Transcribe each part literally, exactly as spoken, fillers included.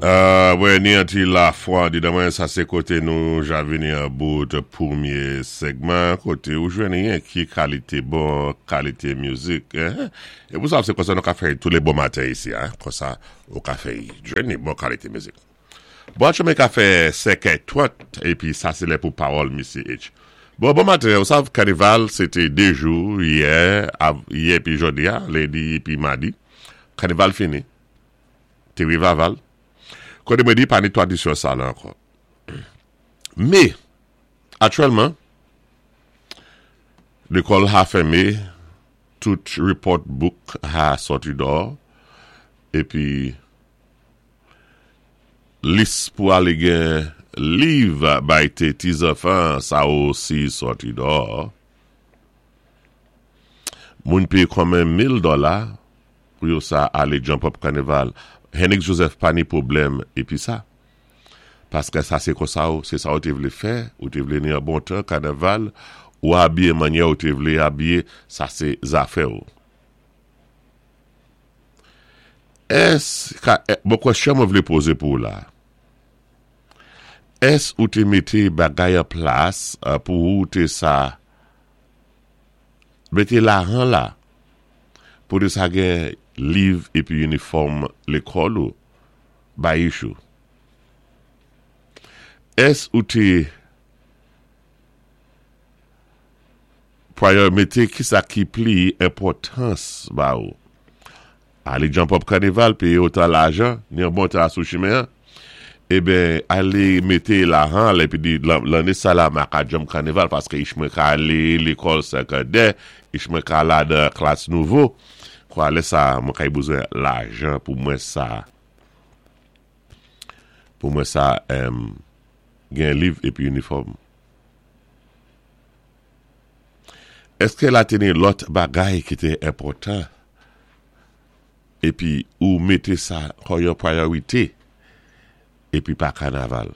Euh, wè, ni an ti lafwa di dan mwen, sa sé koté nou ja vini an bout pwémyé segman, koté ou jwenn yon ki kalité bon, kalité mizik. Eh? É pou sa, sé konsa nou ka fè tou lé bon maten isi, hein? Konsa, ou ka fè jwenn bon kalité mizik. Bon, chemen ka fè senkè twant, épi sa sé lè pou pawòl Missy H. Bon, bon maten, ou sav, kanival, sété dé jou, yè, av, yè pi jòdi a, lendi pi madi. Kanival fini. Té revival. Koté mwen di, pa ni tradisyon sa la ankò. Mé, aktyèlman, lékòl a fèmé, tout report book a sòti dò, épi lis pou alé gen liv bay té ti zanfan, sa osi sòti dò. Moun péyé konmen mil dola pou yo sa alé jump up kanival. Henrik Joseph pa ni pwoblèm épi sa. Paské sa sé konsa ou, sé sa ou té vlé fè, ou té vlé ni an bon tan kanaval, ou abiye manyè ou té vlé abiye, sa sé zafè ou. Ès, ka, eh, bon kwèsyon mwen vlé pozé pou ou la. Ès ou té mété bagay an plas euh, pou ou té sa mété lajan la pou té sa gen liv épi inifòm lékòl ou bay ich ou. Ès ou té prior mété ki sa ki pli enpòtans ba ou? Alé jump up kanival, péyé otan lajan, ni an bon tan sou chimen an. Eben, alé mété lajan, épi di lanné sa la ma ka jump kanival paské ich mwen ka alé lékòl segondè, ich mwen ka la dan klas nouvo. Kwa lè sa, mwen ka y bezwen lajan pou mwen sa, pou mwen sa em, gen liv épi inifòm. Èské la té ni lòt bagay ki té enpòtan épi ou mété sa kòm yon priorité épi pa kanaval.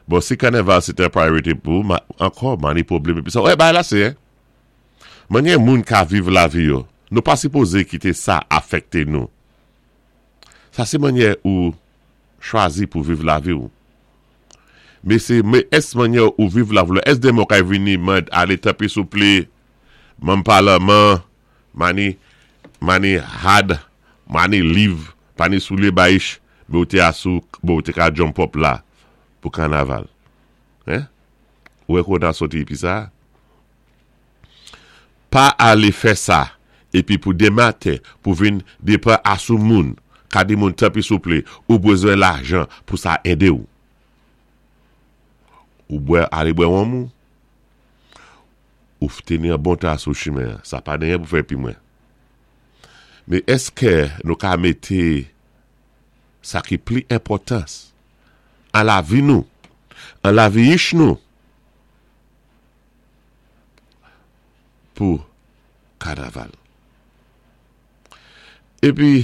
Bon, si kanaval c'est un priorité pou ou, ma, ankò, ma ni pwoblèm épi sa. Wè, bagay la sé, hein? Manyè moun ka viv lavi yo, nou pa sipozé kité sa afekté nou. Sa sé manyè ou chwazi pou viv lavi ou. Mé sé, mé ès manyè ou viv lavi ou, ès demen ou ka vini mand alé tanpwi souplé, manm palman, mani, mani had, mani liv, pa ni soulyé bay ich, mé ou té asou, bon, ou té ka jump up la pou kanaval. Hein? Ou wè kon a sòti épi sa? Pa alé fè sa, épi pou demen maten, pou vin depan asou moun, ka di moun tanpwi souplé, ou bezwen lajan pou sa édé ou. Ou bwè, alé bwè wonm ou, ou téni an bon tan sou chimen, sa pa genyen pou fè pi mwen. Mé èské nou ka mété sa ki pli enpòtans an lavi nou, an lavi ich nou, pou kanaval. Épi,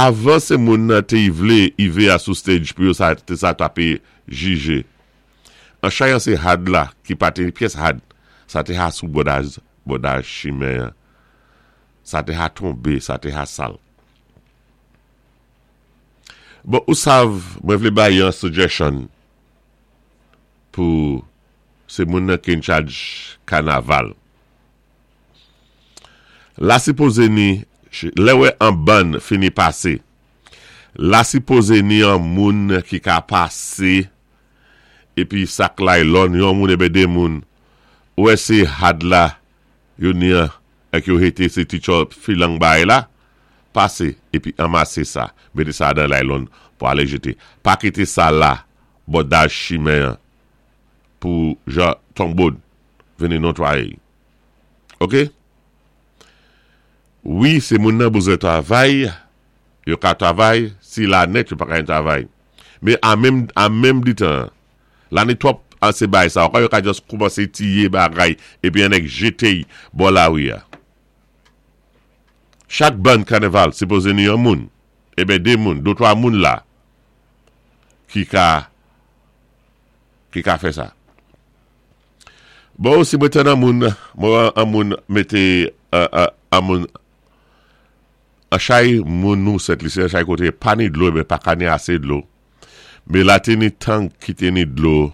avan sé moun nan té vlé ivé a sou stage pou yo sa, té sa tapé jijé. An chayan sé had la, ki pa té pyès had, sa té ha sou bòdaj, bòdaj chimen. Sa té ha tonbé, sa té ha sal. Bon, ou sav, mwen vlé bay yon suggestion pou sé moun nan ki in charge kanaval. La sipozé ni, lè wè an bann fini pasé, la sipozé ni an moun ki ka pasé, épi sak laylòn, yon moun ébé dé moun, ou wè sé had la, yo ni an, ek yo hété sé ti chò filang bay la, pasé, épi anmasé sa, mété sa dan laylòn pou alé jété. Pa kité sa la, bòdaj chimen an, pou jan tonbod vini notwaye. Ok? Wi, sé moun nan bezwen travay, yo ka travay, si la nèt yo pa ka yon travay. Mé an menm, an menm di tan, la ni twòp an sé bay sa, yo ka just koumansé tiyé bagay, épi an ek jété bò lari a. Chak bann kanaval, sipozé ni yon moun, eben dé moun, dé twa moun la, ki ka, ki ka fè sa. Bon, si mwen ten an moun, mwen an moun mété, euh, euh, an moun, An chay moun nou Sent Lisi, an chay koté pa ni dlo, men pa ka ni asé dlo. Mé la té ni tank ki té ni dlo,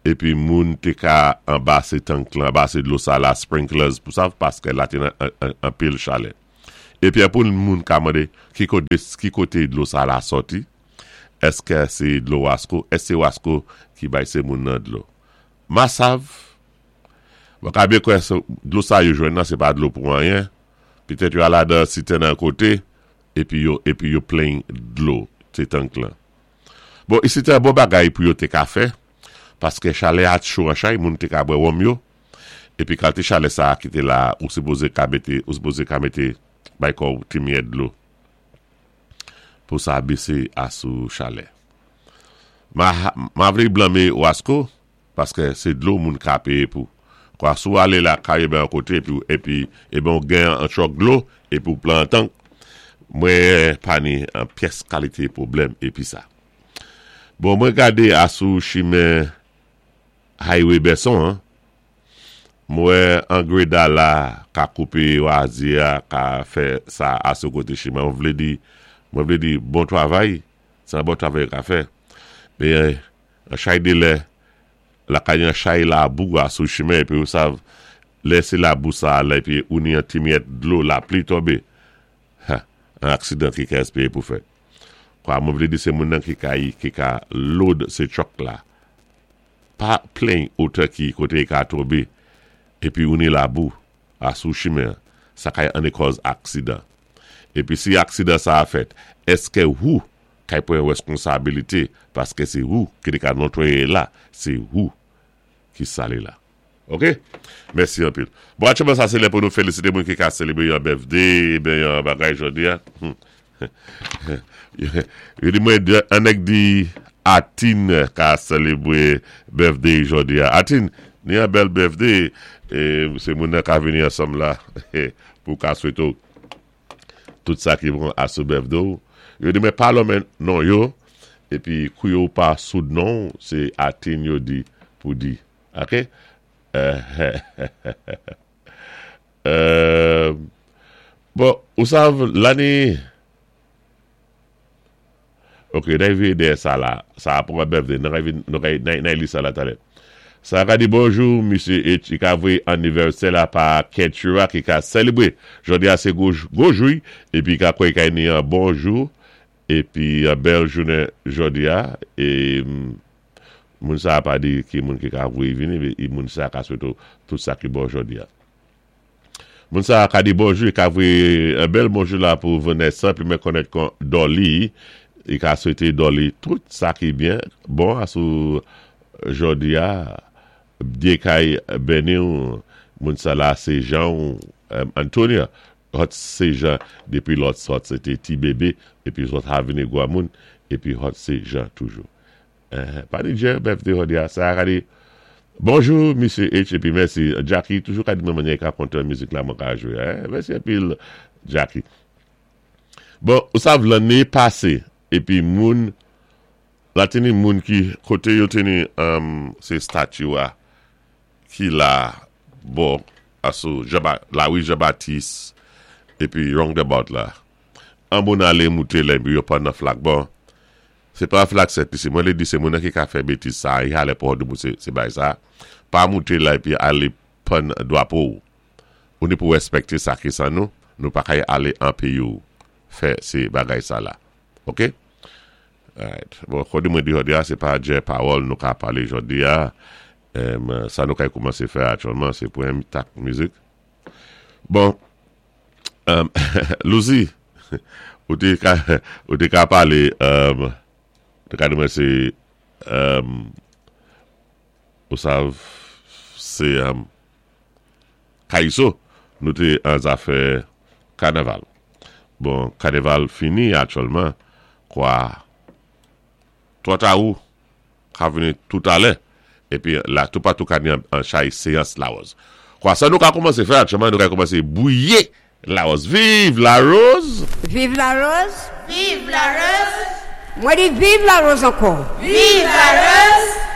épi moun té ka anba sé tank lan, anba sé dlo sa la, sprinklers pou sa, paské la té an pil chalè. Épi apou moun ka mandé, ki koté, ki koté dlo sa la sòti, èské sé dlo Wasco, èské sé Wasco ki bay sé moun nan dlo. Ma sav, mwen ka byen kwè dlo sa yo jwenn nan, sé pa dlo pou anyen, petèt yo al ladan sitèn an koté, épi yo, épi yo plen dlo, sé tank lan. Bon, isi té bon bagay pou yo té ka fè, paské chalè a cho an chay, moun té ka bwè wonm yo, épi kalité chalè sa ki té la, ou sipozé ka mété, ou sipozé ka mété, bay kò ti myèt dlo, pou sa bésé asou chalè. Ma, ma vlé blanmé Wasco, paské sé dlo moun ka péyé pou. Kwa sou alé la kaye ben an koté, épi, épi, épi ou gen an chòk dlo, épi ou plen an tank, mwen pa ni an pyès kalité pwoblèm épi sa. Bon, mwen gadé asou chimen highway Besson, an. Mwen an greda la ka koupé wazia, ka fè sa asou koté chimen. Mwen vlé di, mwen vlé di bon travay, sé an bon travay ka fè. Mé an chay dé lè, la ka yon chay labou asou chimen, épi ou sav, lè sé labou sa la, épi ou ni an ti myèt dlo, lapli tonbé. Ha, an aksidan ki ka espéyé pou fèt. Kwa mwen vlé di sé moun nan ki ka yi, ki ka load sé truck la. Pa plen otè ki koté ka tonbé, épi ou ni labou asou chimen, sa kay ane kòz aksidan. Épi si aksidan sa a fèt, èské ou kay pran wèskonsabilité, paské sé ou ki té ka notwayé la, sé ou ki salé la. Ok? Mèsi anpil. Bon, atchèman sa sé lè pou nou félisité moun ki ka sélébré yon birthday, ben yon bagay jodi a. Yo di mwen, an nèg di Atin ka sélébré birthday jodi a. Atin, ni yon bèl birthday, e sé moun nan ka vini ansanm la, pou ka swété tout sa ki bon asou birthday. Yo di mwen pa lonmen non yo, épi kou yo pa soud non, sé Atin yo di pou di. Ok? Euh, bon, ou sav, lanné, ok, nan yi de sa la, sa pou mwen birthday, nan yi nan yi li sa la talè. Sa ka di bonjou, Misye H, i ka vwe anivèsè la pa Ketura ki ka selebre. Jodi a se gwo jou, épi ka kwe ka ni an bonjou, épi an bèl jounen jodi a, é moun sa pa di ki moun ki ka vwe vini, e moun sa ka swété tout sa ki bon jodi a. Moun sa ka di bonjou, i ka vwe an bèl bonjou la pou Vanessa, pi mwen konèt kon Dolly, i ka swété Dolly tout sa ki byen, bon asou jodi a, Dyé kay béni ou, moun sa la sé Jean Antonia, hot sé Jean, dépi lòt sòt sé té ti bébé, épi zòt ha vini gwa moun, épi hot sé Jean toujou. Pa di Jean, birthday jodi a, sa ka di, bonjou, Misye H, épi mèsi, Jackie, toujou ka di mwen manye ka kontan mizik la mwen ka jwé, mèsi anpil, Jackie. Bon, ou sav lanné pasé, épi moun, la teni moun ki, koté yo teni, sé statue a, ki la, bon, asou, la wi Jean-Baptiste, épi roundabout la, an moun alé mouté la, épi yo pan nan flag, bon, sé pa flag Sent Lisi, mwen lé di sé moun nan ki ka fè bétiz sa, yi alé pou hodou moun sé bay sa, pa mouté la, épi alé pan dwapo ou, ou ni pou wèspèkté sa ki san nou, nou pa kay alé an péyi ou, fè sé bagay sa la, ok? Alright, bon, kòdi mwen di jodi a, sé pa djè pawòl nou ka palé jodi a, sa nou kay koumansé fè aktyèlman, sé pou yon tak mizik. Bon, Louzi, ou té ka, ou té ka palé, te ka di mwen sé, ou sav, sé Kaiso, nou té an zafè kanaval. Bon, kanaval fini aktyèlman, kwa, twò ta ou, ka vini tout alè, épi la tout patou ka ni an chay séyans lawòz. Kwa sa nou ka koumansé fè aktyèlman, nou ka koumansé bwiyé lawòz. Vive la rose! Vive la rose! Vive la rose! Mwen di vive la rose ankò. Vive la rose!